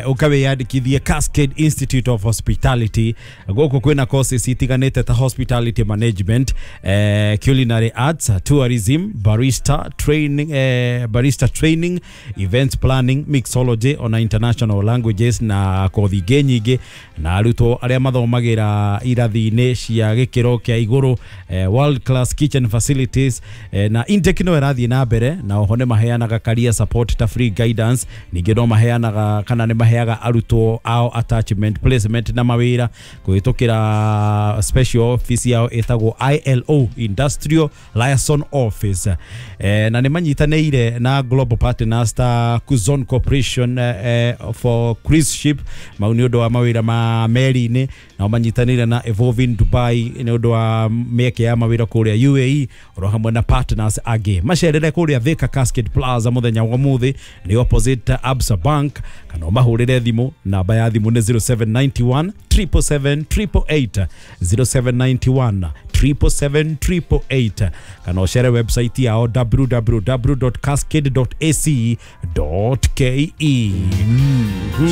Ũkawĩyandĩkithie Cascade Institute of Hospitality. Gũkũ kwĩna courses itiganĩte ta hospitality management, culinary arts, tourism, barista training, barista training, events planning, mixology, ona international languages na kothi ingĩ nyingĩ. Na arutwo arĩa mathomagĩra irathi-inĩ cia gĩkĩro kĩa igũrũ, world class kitchen facilities, na intake no ĩrathiĩ na mbere. Na oho nĩ maheanaga career support ta free guidance. Ningĩ no maheanaga kana nĩ maheaga arutwo ao attachment, placement na mawĩra kũhĩtũkĩra special office yao ĩtagwo ILO, Industrial Liaison Office. Na nĩ manyitanĩire na global partners ta Kuzon Corporation for cruise ship, mau nĩ ũndũ wa mawĩra ma meri-inĩ. Nao manyitanĩire na Evolving Dubai nĩ ũndũ wa mĩeke ya mawĩra kũrĩa UAE, oro hamwe na partners angĩ. Macerere kũrĩa Thika Cascade Plaza mũthenya wa ũmũthĩ, nĩ opposite Absa Bank, kana ũmahũrĩre thimũ. Namba ya thimũ nĩ 0791 777 888, 0791 777 888, kana ũcere website yao www.cascade.ac.ke.